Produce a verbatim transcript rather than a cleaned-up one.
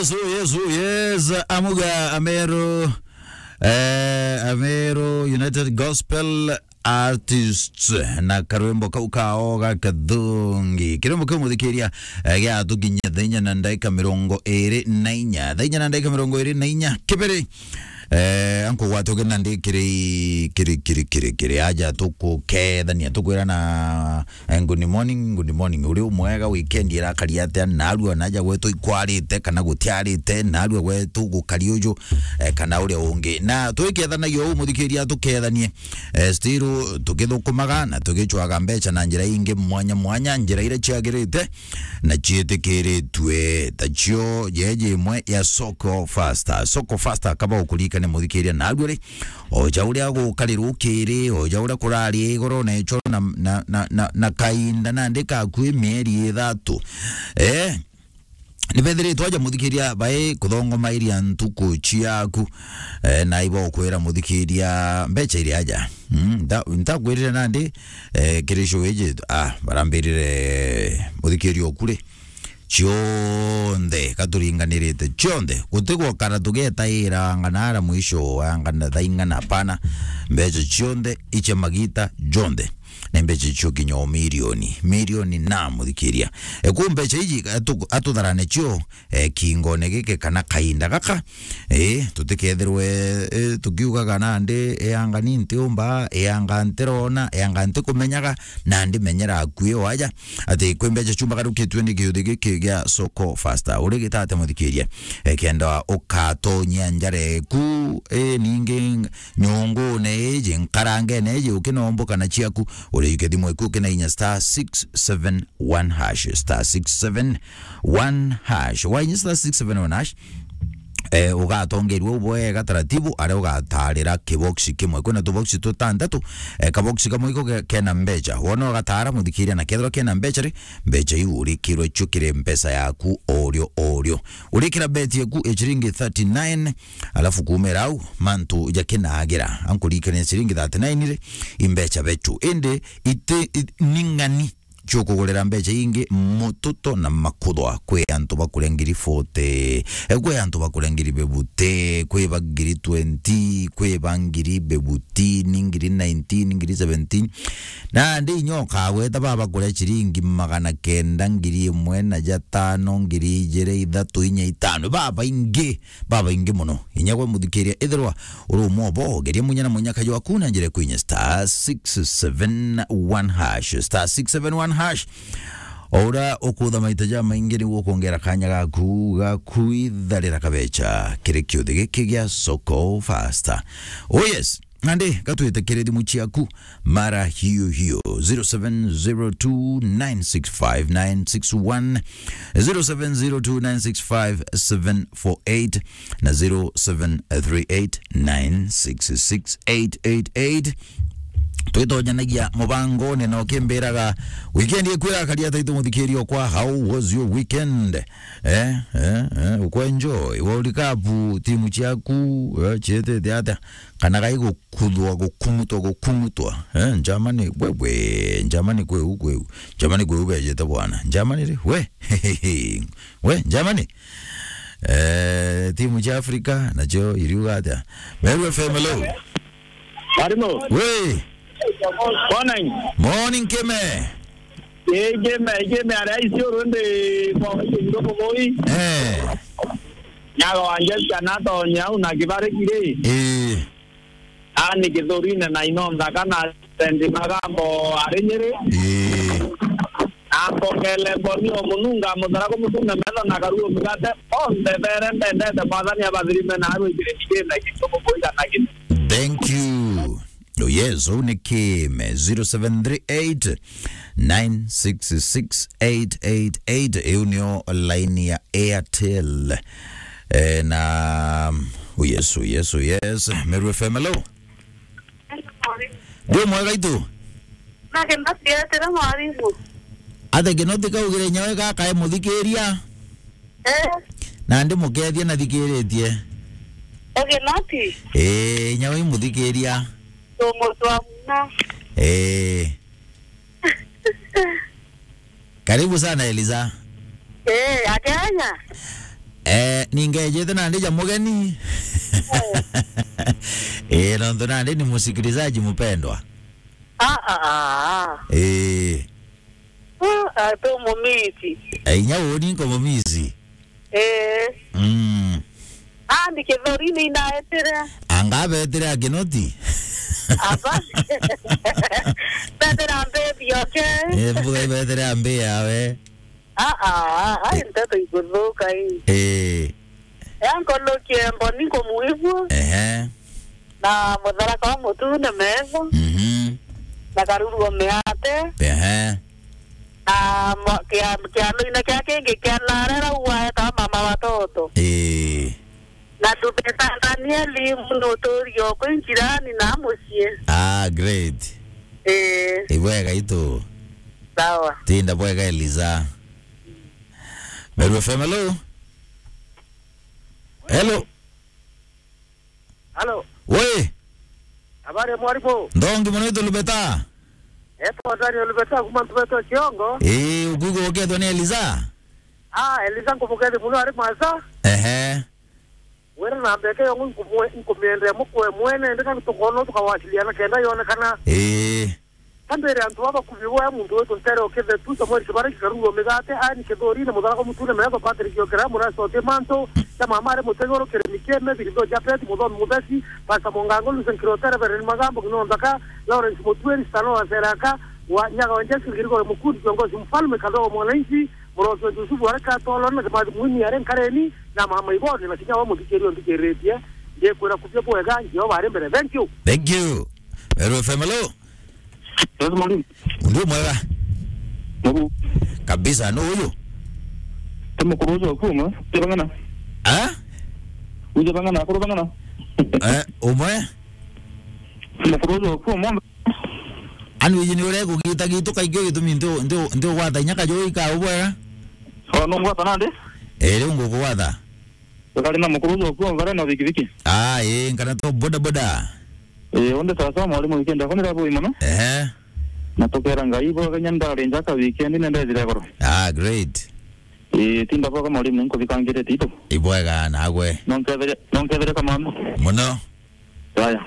Yes, oh yes, oh yes. Amuga Ameru, eh, Ameru United Gospel Artists na karwimbo kau kao ga kathungi. Kirwimbo kiu muthikiria, eh, giatukinyia thaa inya na ndagika mirongo iri na inya. Thaa inya na ndagika mirongo iri na inya. Kibiri, eh, ankugwata ugi nandi kiri, kiri, kiri, kiri, kiri. Aja tukukethania, tukwirana Eh, good morning, good morning. Uri umwega, weekend irakari atia? Narua naja gwetu ikwarite, kana gutiarite, narua gwetu gukari uju, eh, kana uria ungi. Na twikethanagia uu, muthikiria, tukethanie, eh, still tukithukumaga na tugicwaga mbeca na njira ingi mwanya mwanya, njira iria ciagirite na ciitikiritue. Tacio jeje imwe ya Soko Faster. Soko Faster, kaba ukuririkane, muthikiria, narua ri, o ja uria gukari rukiri, o ja uria kurari igoro na ichoro na, na, na, na, na kainda nandi kakui mieri ithatu. Eh, ni bethiritwe aja muthikiria bai kuthongomairia ntuku ciaku. Eh, na ibo kwira muthikiria mbeca iri aja. Mm, nta-, ntakwirire nandi, eh, kiri show iji, ah, barambirire muthikiria okuri. Cionthe, gaturinganirite cionthe. Gutigwa kana tugetaira angana ara mwisho wa angana thaa ing'ana, hapana. Mbeca cionthe icia magita jonthe. Ni mbeca cio kinya o milioni. Milioni na muthikiria. E, ku mbeca iji atu-, atutharane cio, e, kingone giki kana kainda gaka. E, tutikethirwe, e, tukiugaga nandi, e, anga ni ntiumba, e, anga ntirona, e, anga ntikumenyaga, nandi menyera akui o aja. Ati kwi mbeca ciumbagarukitue ni kiuthi giki gia Soko Faster. Uri gita atia muthikiria? E, kenda ukatonyia njara eku, e, ningi nyungune iji, nkarangene iji, ukinomboka na ciaku, uri yuke thimu eku ukina inya star six seven one hash, star six seven one hash. Wainya star six seven one hash, eh, ugatongerua bwega taratibu, aria ugatarira kiboxi kimwe. Kwina tuboxi tutantatu, eh, kaboxi kamwe iko ke-, kena mbeca. Wona ugatara muthikiria, na kethirwa kena mbeca ri, mbeca iu urikirwe cio kiri mpesa yaku orio orio. Urikira beti yaku e ciringi thirty-nine, alafu kumira au mantu jakinagira. Ankurikania ciringi thirty-nine ri, i mbeca becu. Indi iti, i-, ni ng'ani ciukugurira mbeca ingi mututo na makuthwa. Kwi antu bakuria ngiri forty, e, kwi antu bakuria ngiri fifty, kwi ba ngiri twenty, kwi ba ngiri fifteen, ngiri nineteen, ngiri seventeen. Nandi inya ukagweta baba kuria ciringi magana kenda, ngiri imwe na jatano, ngiri ijiri, ithatu, inya, itano. Babaingi, babaingi mono. Inya gwe muthikiria, ithirwa uri umwe obo, geria munya na munyaka jwaku na njira kwinya star six seven one hash, star six seven one hash. O uria ukutha maita jamaingi niguo ukwongera kanya gaku ga kwitharira kabeca kiri kiuthi giki gia Soko Faster. Oh yes, nandi gatwite kiri thimu ciaku mara hiyo hiyo, zero seven zero two nine six five nine six one, zero seven zero two nine six five seven four eight na zero seven three eight nine six six eight eight eight. Twitonyanagia mubangone na ukimbiraga weekend ikwira karia taitu muthikirio kwa, how was your weekend? Eh, eh, eh, ukwenjoy World Cup, timu ciaku, eh, cietete atia? Kana gai gukuthwa, gukung'utwa, gukung'utwa? Eh, Germany, wewe, Germany kweu, kweu. Germany kweu bejete bwana. Germany ri, we, we, Germany. Eh, timu cia Afrika, nacio iriuga atia? Meru F M, hello. Arimu. We. Morning. Morning, Kime. Ii, Kime, Kime, aria icio rundi kwa icio ndogo boy. Eh. Nyaga wanje ciana tonya au na kibari kiri. Ii. Ani kithurine na ino nthaka na sendi magambo ari Nyeri. Ii. Akongele mboni o mununga muthara kumutunga metho na karuo mugate. Onthe bere ndendete mwathani abathirime na arwikire nigine kintu mukuiga na kintu. Thank you. Oh yes, uu ni Kime, zero seven three eight nine six six eight eight eight. Iu nio line ya Airtel. Eh, na, oh yes, oh yes, oh yes. Meru F M, hello. Ndi mwega itu. Nake ndatietera mwarimu. Ate Kinoti kaugire nyawe gaka e muthikiria. Eh. Na ndi mukethia na thikiritie. Oge noti? Eh, nyawe muthikiria. Tumu twa muna. Eh. Karibu sana, Eliza. Eh, akenya. Eh, ningejete nandi ja mugeni. Eh, nontu nandi ni musikilizaji mpendwa. Ah, ah, ah, ah. Eh. Ah, ah, tu mumisi. Eh, inya uni nko mumisi. Eh. Mm. Ah, ndi kithori ni ndaetire. Anga betire a kinoti? Aba. Betire a mbebi, okay? Eh, mbuga ibetire a mbe yawe. Ah, ah, ah, ai, nteto iguthuka ii. Eh. Yankonokie mboni nkumuigua. Ehe. Na mutharaka wa mutune metho. Mhm. Na karuruo miate. Ehe. Na mwa-, kia-, kianoine kia kingi kia narera uwaeta mama watoto. Eh. Na ndubeta Danieli muno uturio kwi njirani na mucii. Ah, great. Eh. Ibwega itu. Sawa. Tinda bwega Eliza. Meru F M, hello? Hello? Halo. We! Habari ya mwalimu? Ndongi mono itu Lubeta. Eto Daniel Lubeta, kuma Lubeta Kiongo. Ii, ukuigua ukethwa ni Eliza? Ah, Eliza nkumukethia muno ari masa. Ehe. Wira na mbeke yongo nkumwe-, nkumiendea mukwe mwene, ndika tukona tukawasiliana kenda yonekana. Ii. Kambere antu baba kubi boya muntu wetu ntere okethe tu Samuel Kibara kikarurwa migate, ani kithori na mutharaka mutune metho Patrick Okera, murasi ote mantu, cha mama ari mutegoro kiremi keme, Birindo Japhet, muthomi muthesi, Pastor Mongango, Lucen Kirote, Reverend Magambo, Kino Nthaka, Lawrence Mutweri, Stano wa Seraka, wa Nyaga wa Jesu, Ngirigore Mukundi, kiongozi mfalme, Kadogo mwananchi, murosi wa Yusufu, areka tolo, na Kimathi Mwinyi, are nkareni, na mama Iboni, na kinya wa muthikiri onthikiritie, ndikwira kubia bwega, Jehova ari mbere. Thank you. Thank you. Meru F M, hello? Yes, mwalimu. Ndio mwega. Ndio. Kabisa, no huyo. Temo kurozo kuma, tebangana. Ah? Uje bangana, kuro bangana. Eh, umwe? Temo kurozo kuma. Ani uyu ni uria kugita gitu kaingi gitumi ntu, ntu, ntu gwata inya kajoi ka ubwega? Oh, no ngwata nande? Eh, riu ngukugwata. Tukari na mukuru ucio kuo ngare na bikibiki. Ah, ii, nkana to boda boda. Ii, undi sawa sawa mwalimu, weekend yako ni rabu mono. Ehe. Na tukera Ngai bo kenya ndari njaka weekend ni ndethire goro. Ah, great. Ii, tinda boka mwalimu, nkubikangire tito. Ibwega nagwe. Nonkethire, nonkethire kamano. Muno. Yaya.